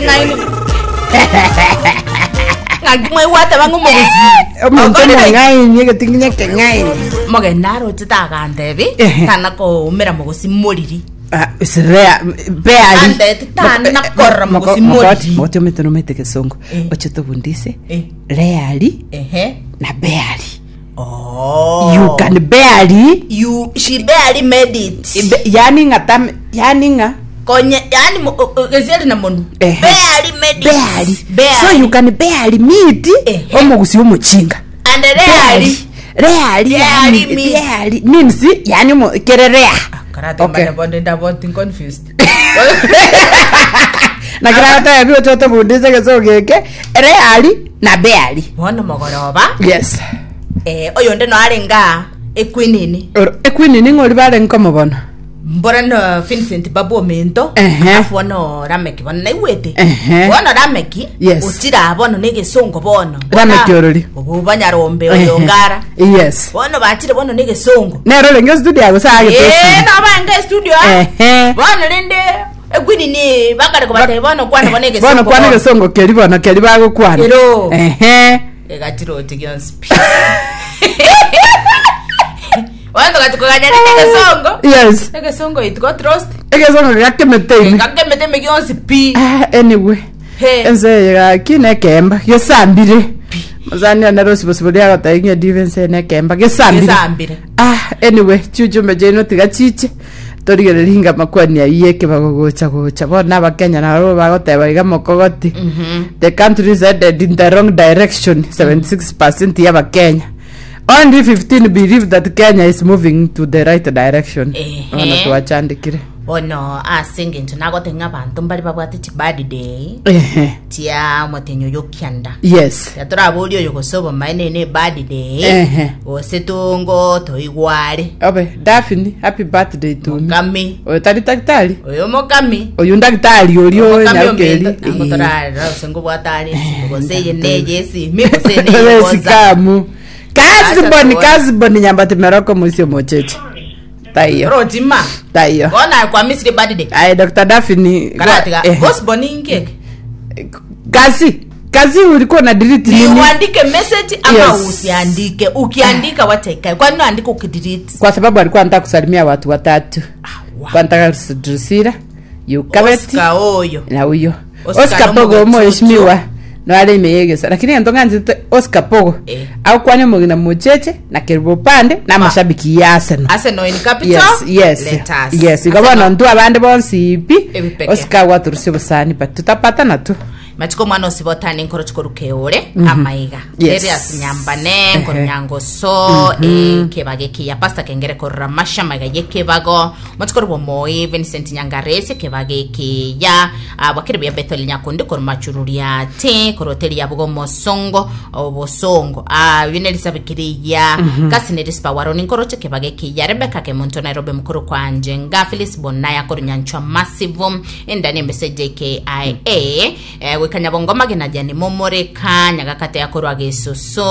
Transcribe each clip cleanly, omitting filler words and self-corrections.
keng'aini. Ng'aki mwaigwate bang'u mogusii. Omonto Okorire omong'aini egetinginya ekeng'aini. Mogeni naroche tagantebi Ehe. tana koumera mogosi moriri. Ah, it's rare. Barely. Andeti tana korora mogosi moriri. Mogoti omete nomete gesongo. Eh. Oche tobundise. Eh. Rarely Ehe. na barely. Oh. You can barely You she barely made it. Ibe- yani ng'a tam yani ng'a Konye yani mo- o- o- gesieri na monu. Ehe. Barely made it. barely. Barely. So you can barely meet Ehe. omogusi omochinga. And rarely. Rarely Rarely yani meet. rarely means yani omo kere rare. Karate Okay. mane bonde ndabonti confused. Na kira gotebia oche otobundise egesongo geke rarely na barely. Bono mogoroba. Yes. Eh, oyonde no arenga equinini. Oro- Equeen ning'ori barenge komobono. Mbora no Vincent babu ominto. Ehe. Alafu bono Rameki bono naigwete. Ehe. Bono Rameki. Yes. Otira bono negesongo bono. Rameki orori. Obo banyarombe oyo ngara. Yes. Bono bachire bono negesongo. Nero orenge studio yago sa agete Eh, esimi. no bange studio. ah. Ehe. Bono rende equinini bakare kobatebia bono kwana bono egesongo. Bono kwana egesongo keri bono keri bagokwana. Ero. Ehe. Egachiroti gionsi pi. Bono togachi koganya rende egesongo. Yes. Egesongo it got lost. Egesongo gakemete ime. Gakemete ime gionsi pi. Ah, anyway. He. Ense eye gaki nekemba gesambire. Mosani one rosibo sibo riagotebia ng'a edibe ense eye nekemba gesambire. Gesambire. Ah, anyway, chiuchumbe chiaino tiga chiche torigererie inga makwani ayio ekebago gocha gocha bono abakenya nabo bagoteba iga mokogoti the country is headed in the wrong direction 76% ya abakenya only 15 believe that Kenya is moving to the right direction Ehe. bono twachandikire Bono ase engencho nagote ng'a abanto mbare babwate chibirthday Ehe. chia omotenyi oyo okianda. Yes. Tiga toraborie oyo gose obomaene ne ebirthday Ehe. gose tongo toigware. Obe, Daphne, happy birthday to me. Mokami. Oyo tari daktari? Oyo mokami. Oyo ndagitari oria Omokami nyarokeri. ominto nango torarera gose ngobwate are esimi gose eye neye esimi gose eye neye WhatsApp. Esikamu. Kaziboni, Acha tuone. kaziboni nyambati meroko musio mocheche. Taiyo. Rochima. Taiyo. Bono aye kwamisire birthday. Aye Dr. Daphne. Karatiga. Eh. Osborne inki eke? Kazi. Kazi ulikuwa na delete Ni nini? uandike message ama Yes. usiandike. Ukiandika wacha ikae. Kwani unaandika ukidelete? Kwa sababu alikuwa anataka kusalimia watu watatu. Ah, wow. Kwa anataka Drusilla, Yukabeti Oscar oyo. na huyo. Oscar Oscar Pogo Omogotutu. mheshimiwa. Noare ime yegesa. Lakini ento ng'anchete Oscar Pogo. Eh. Agokwania omogina mocheche na Kerubo Pande na amashabiki ya Arsenal. Arsenal in capital. Yes, yes. Let us. Yes, igo bono ntwe abande bonsi pi. Ebipeke. Oscar gwaturusia obosani but tutapatana tu. Matuko omwana osibotane nkoro chikoruka eore amaiga Yes. Darius Nyambane nkoro Ehe. Nyangoso ekebago ekiya Pastor Kengere korora Masha maiga yekebago matuko rwa Moi Vincent Nyangaresi ekebago ekiya ah, bwakire buya Bethel Nyakundi korwa Machururiate korwa hoteli ya Bugo Mosongo obosongo ah, uyu ne Elizabeth Kiriya kasi ne Rispa Waroni nkoro ekebago ekiya Rebecca Kemunto Nairobi mukuru kwa Njenga Phyllis Bonaya korwa Nyanchwa Massive endani embese JKIA eh, goika Nyabongo magena jani momoreka nyagakate yakorwa gesusu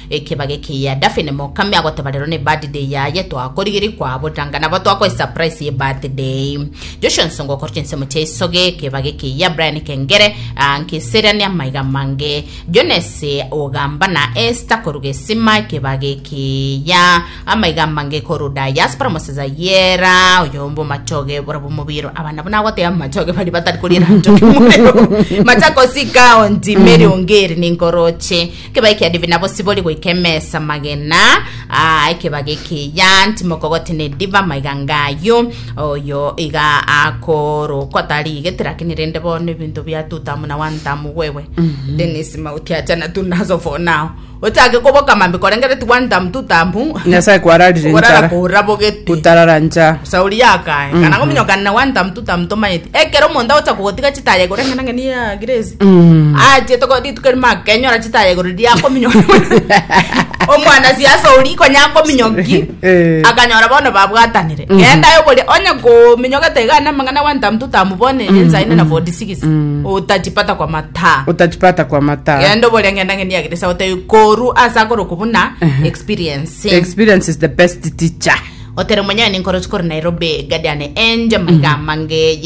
ekebago ekiya Daphne Mokami agoteba rero ne birthday yaye twakorigiri kwabo tanga nabo twakoe surprise ye birthday Joshua Nsongo okorwa chinsemo chia isoge ekebago ekiya Brian Kengere ah, nkiserania maiga mange Jones ogamba na Esther koruga esima ekebago ekiya amaiga mange koru diaspora moseza yera oyombo machoge borabo mobiro abana buna agoteba machoge bari batari korira nchoke morero Machakos County Mary Ongeri ninkoroche ekebago ekiya Divina Bosibori goika emesa magena ah, ekebago ekiya ntimokogoti ne diva maiga ngayo oyo iga akorokwa tari igete lakini rende bono ebinto bia two term na one term wewe Dennis mauti achana tu nazo for now ochake koboka mambi korengereti one term two term Nyasaye kwararire orara nchara. korabogete Utarara ncha. sauri yakae kana ngominyokana na one term two term tomaeti ekero omonto agocha kogotiga chitaya igoro eng'ana ng'eni ya Grace ache toko rituko erimo akenyora chitaya igoro riria akominyoka omwana siasa oria konya akominyoki Eh. akanyora bono babwatanire genda oboria onye kominyokete iga na amang'ana one term two term bono ensaine na 46 otachipata kwa mataa Utachipata kwa mataa. genda oboria ng'enda ng'eni ya Grace agotebi koru ase akorokwa buna experience Experience is the best teacher. Otere mwenyewe ninkoro chikoro Nairobi Guardian Angel maiga mange.